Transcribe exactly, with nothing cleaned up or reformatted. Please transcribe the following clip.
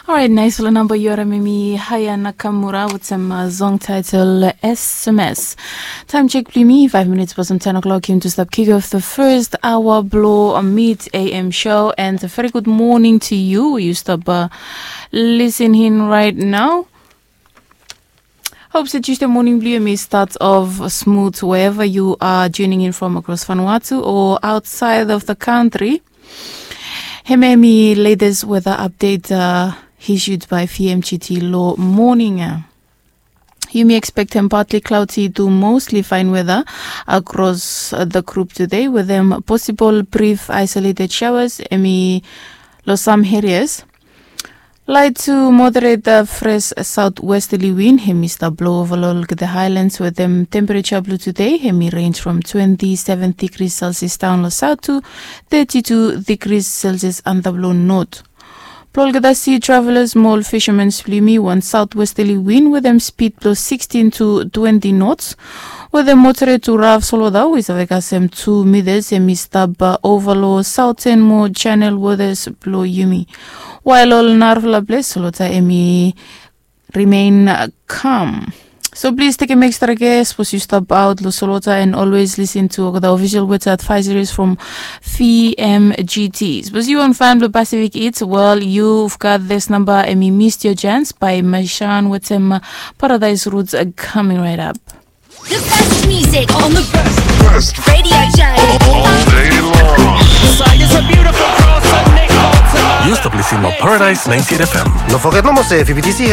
Alright, naesfala namba yu harim hemi Haya Nakamura wetem song title S M S. Taem jek blong yumi, five minutes pasom ten o'clock, yumi tu stap kick off the first hour blong Mid A M show, and a very good morning to you. Yu stap listening right now. Hope se Tuesday morning blong yumi start off smooth wherever you are tuning in from across Vanuatu or outside of the country. Hemia hemi latest weather update issued by V M G T long moning. Yumi expectem partly cloudy to mostly fine weather across the group today, wetem possible brief isolated showers hemi long sam areas. Light to moderate fresh southwesterly wind hemi stap blo ova long olgeta highlands, wetem temperature blong today hemi range from twenty seven degrees Celsius daon long south to thirty two degrees Celsius antap long north. Blo olgeta sea travelers mo ol fishermen blong yumi, wan southwesterly wind wetem speed blong sixteen to twenty knots wetem moderate to rough solwota we i save kasem two meters hemi stap ova long southern mo channel waters blong yumi. Wael ol narafala ples solwota hemi remain calm. So plis tekem extra care sapos yu stap aot long solwota, and always listen to olgeta official weather advisories from V M G T. Sapos yu wan fan blong Pacific Hits, well, you've got this number, hemi Missed Your Chance by Mashan wetem Paradise Roots coming right up. The best music on the best radio show. All day long. Yu stap listening long Paradise ninety-eight F M. No foget nomo se V B T C